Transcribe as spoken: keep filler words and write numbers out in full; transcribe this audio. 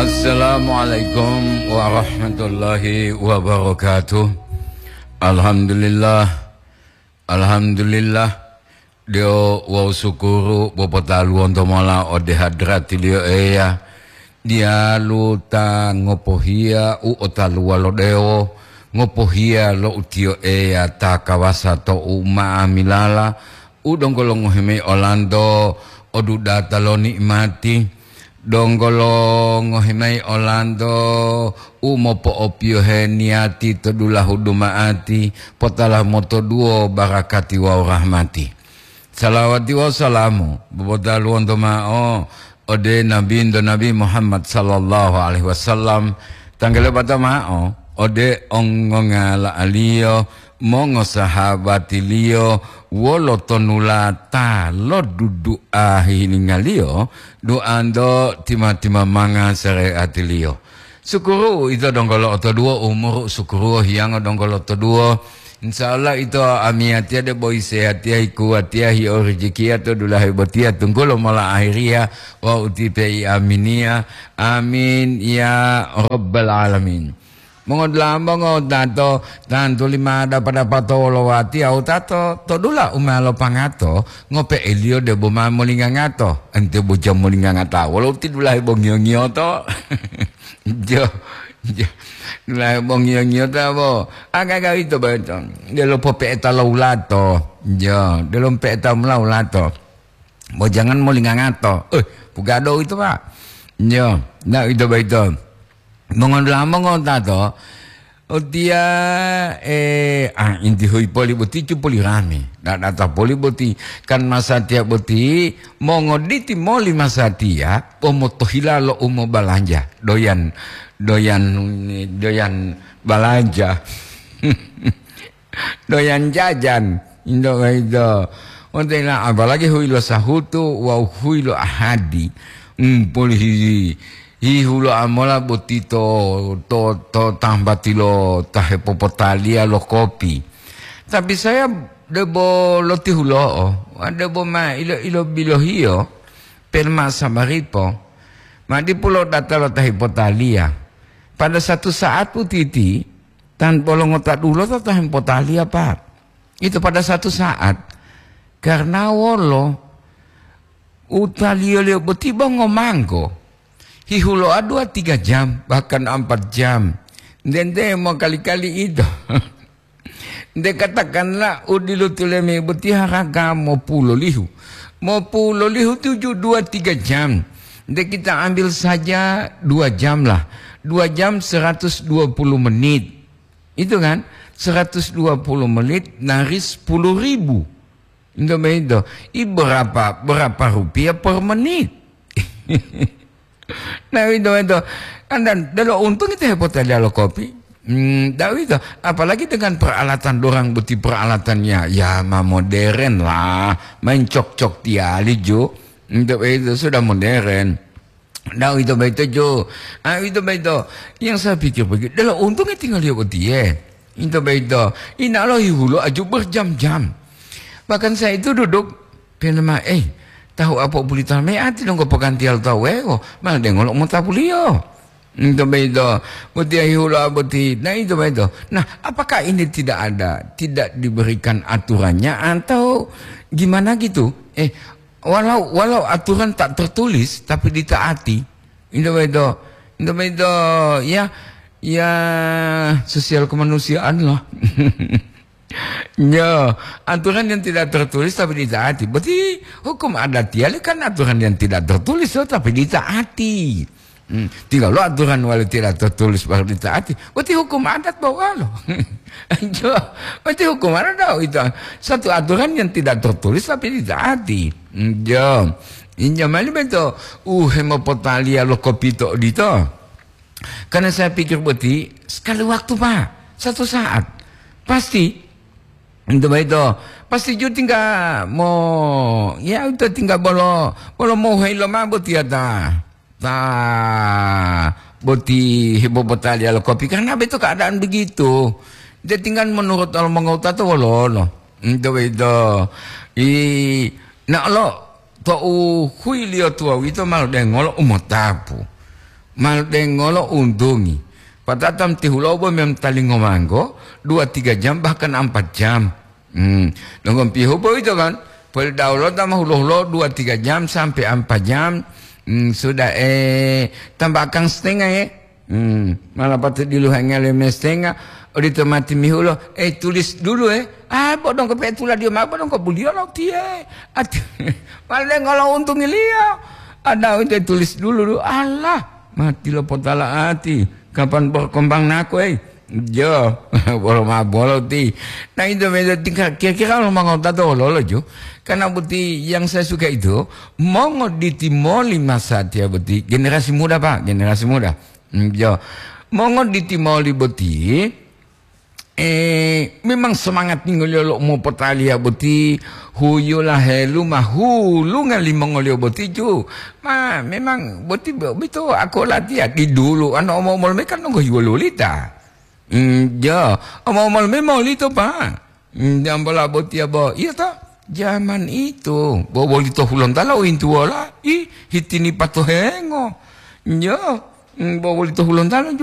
Assalamualaikum warahmatullahi wabarakatuh. Alhamdulillah. Alhamdulillah. Dewo wawu sukuru popotaluwonto mola ode hadratiliyo Eya. Diyalu ta ngopohiya u otaluwa lo dewo, ngopohiya lo utiyo Eya ta kawasa to u ma'amilala, u donggo longohi mayi olanto o dudata lo ni'imati, donggo longohi mayi olanto u mopo'opiyohe niyati to dulahu duma'ati, potala motoduwo barakati wawu rahmati. Salawati wawu salamu bobotaluwonto ma'o ode Nabinto Nabi Muhammad sallallahu alaihi wasallam, tanggele bata ma'o ode ongongala'aliyo, mongosahabatiliyo, wolo tonulata lo dudu'a hihiningaliyo, duanto tima-timamanga sareatiliyo. Sukuru ito donggo lo'otoduwo, umuru sukuruwo hiyango donggo lo'otoduwo. Insya Allah ito amiyatiya debo isehatiya, hikuwatiya, hi'orijikiya to dulahe botiya tunggulo mola ahiriya wawu utipe i aminiya. Amin ya rabbal alamin. Mongodula'a mongotato, tantu lima dapa-dapato wolowati awutato to dula u ma lopangato, ngope'eliyo debo ma molingangato. Ente boja molingangata wolo uti dulahe bo ngiyo-ngiyoto. Jo, jo. Dulahe bo ngiyo-ngiyoto bo. Aga-aga ito boyito. Delo pope'eta lo ulato. Jo, delo pe'eta mula ulato. Bo jangan molingangato. Eh, pugado ito, Pak. Jo, na ito boyito. Mongodula'a mongotato, otiya, eh, ah, inti huyi poli boti cu poli rame. Dadata poli boti, kan masatiya boti, mongoditi moli masatiya, pomotohila lo u mobalanja. Doyan, doyan, doyan balanja. Doyan jajan, indo boyito. Ontela apalagi huyi lo sahutu wawu huyi lo ahadi. Hmm, poli hi-, hihulo'a mola boti to, to, to tambati lo ta hepopotaliya lo kopi. Tapi saya debo lotihulo'o, debo ma ilo-, ilo bilohiyo, pelma sabaripo, ma dipu lo data lo ta hepotaliya. Pada satu saat putiti, Tan bolo ngota dulota ta hempotaliya, Pak. Itu pada satu saat. Karena wolo, utaliyo-liyo boti bo ngomanggo. Hihulo'a dua tiga jam, bahkan empat jam. Nte-nte mo kali-kali ito. Nte katakanlah u dilutulemi boti haraga mopulolihu. Mopulolihu tujuh, dua, tiga jam. Nte kita ambil saja dua jam lah. Dua jam seratus dua puluh menit. Itu kan, seratus dua puluh menit dari sepuluh ribu. Itu begitu. I berapa, berapa rupiah per menit? Nah, itu, itu. Kan dan, delo untung itu hebat ada lo kopi. Hmm, tahu itu. Apalagi dengan peralatan dorang boti peralatannya. Ya, ma modern lah. Main cok-cok tiali, Jo. Itu, itu sudah modern. Nah, itu begitu, Jo. Ah, itu begitu. Yang saya pikir begitu. Delo untung tinggal dia boti, ya. Itu begitu. Ina lo hihulo aju berjam-jam. Bahkan saya itu duduk, penama, eh, tahu apa buli tanah me ati dong ko pekan tial tahu, eh, oh, malah dengol mau tapuliyo. Itu begitu. Boti ahiulo boti. Nah, itu begitu. Nah, apakah ini tidak ada, tidak diberikan aturannya atau gimana gitu? Eh, walau, walau aturan tak tertulis, tapi ditaati. Itu begitu. Itu begitu. Ya, ya, sosial kemanusiaan lah. Ya, aturan yang tidak tertulis tapi ditaati. Berarti hukum adat ya kan aturan yang tidak tertulis, oh, tapi ditaati. Hmm, tinggal lo aturan wali tidak tertulis baru ditaati. Berarti hukum adat bawa lo. Jo, berarti hukum adat tahu itu. Satu aturan yang tidak tertulis tapi ditaati. Hmm, jo. Inja mali beto. Uh, hemopotaliya lo kopito dito. Karena saya pikir boti, sekali waktu, Pak. Satu saat. Pasti. Itu begitu. Pasti ju tinggal mo, ya, itu tinggal bolo, bolo mau hei lo ma boti ya ta. Ta, boti hebo botali alo kopi. Karena begitu keadaan begitu. Dia tinggal menurut alo mengota to wolo, no. Itu begitu. I, nak lo, to u hui liyo tuwa wito malo dengolo umotapu. Mal dengolo untungi. Patata mtihulobo mem talingo manggo, dua tiga jam bahkan empat jam. Hmm. Nongon pihu boyito kan? Pol daulo tama hulo-hulo dua tiga jam sampai empat jam. Hmm, sudah eh tambahkan setengah ya. Hmm, malah patut diluhanga leme setengah. Odito mati mihulo, eh tulis dulu eh. Ah, bodong ke petula dia ma bodong ke buliyo lo tie. Ati, mal dengolo untungi liyo. Ada itu tulis dulu. Allah. Mati lo potala ati. Kapan berkembang nako, eh? Jo, bolo ma bolo ti. Nah, itu beda tingkah kira-kira lo mangota to lolo jo. Karena boti yang saya suka itu, mongo ditimoli masa tia boti. Generasi muda, Pak, generasi muda. Mm, jo. Mongo ditimoli boti, eh, memang semangat ninggolio lo mopotaliya boti, huyola helu mahulunga limongoliyo boti ju. Ma, memang boti bo-, bito ako latiya di dulu, ano omo-omol me kan nonggo hiwololita. Mm, ja, omo-omol me molito, Pak. Mm, jambola botiya bo, iya ta? Zaman itu, bo bolito hulontalo intuwola, i, hitini patohengo. Ja, mm, bo bolito hulontalo ju.